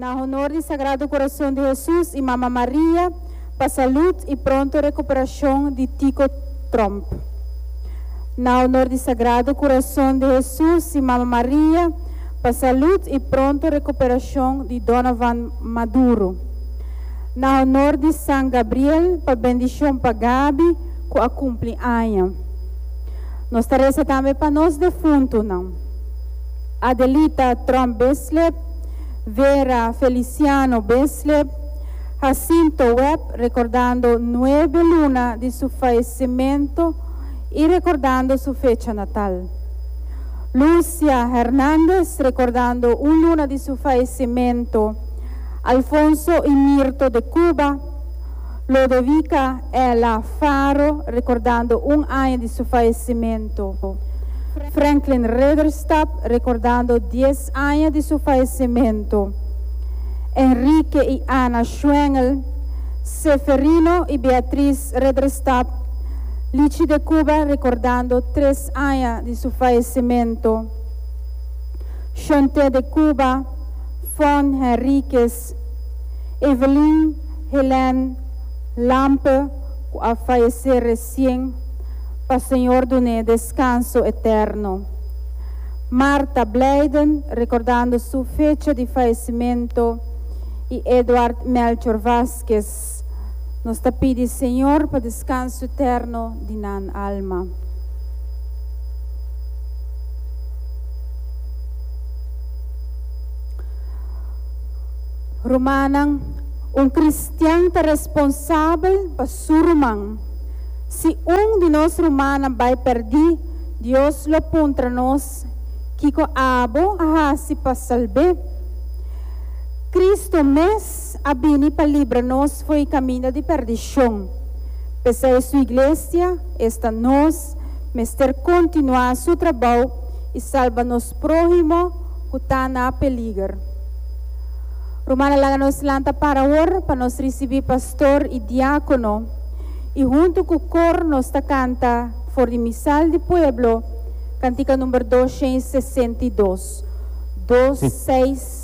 Na honor di Sagrado Corazon di Hesus y Mama Maria pa salud y pronto recuperacion di Tico Tromp. Na honor di Sagrado Corazon di Hesus y Mama Maria pa salud y pronto recuperacion di Donovan Maduro. Na honor di San Gabriel pa bendicion pa Gaby cu a cumpli aña. Nos ta reza tambe pa nos defuntonan. Adelita Tromp Bislip, Vera Feliciano Bislip, Jacinto Webb recordando nuebe luna di su fayecimento y recordando su fecha natal. Lucia Hernandez recordando un luna di su fayecimento. Alfonso y Mirto de Cuba, Lodovica Ella Faro recordando un aña di su fayecimento. Franklin Ridderstap recordando dies aña di su fayecimento. Enrique y Ana Schwengel, Seferino y Beatriz Ridderstap, Lichi de Cuba recordando tres aña di su fayecimento. Shonte de Cuba, Fon Henriquez, Evelyn Helene Lampe cu a fayece recien, pa Señor dun'é descanso eterno. Martha Blijden recordando su fecha di fayecimento y Eduard Melchor Vasquez. Nos ta pidi Señor pa descanso eterno di nan alma. Rumannan, un cristian ta responsabel pa su ruman. Si un di nos rumannan bai pèrdí, Dios lo puntra nos, Kiko abo a hasi pa salb'é? Cristo mes a bini pa libra nos fo'i kaminda di pèrdishon. P'esei su iglesia, esta nos, mester kontinuá su trabou i salba nos próhimo ku ta na peliger. Rumannan laga nos lanta para awor pa nos risibí pastor i diákono i huntu ku kor nos ta kanta for di Misal di Pueblo kantika number 262, dos seis.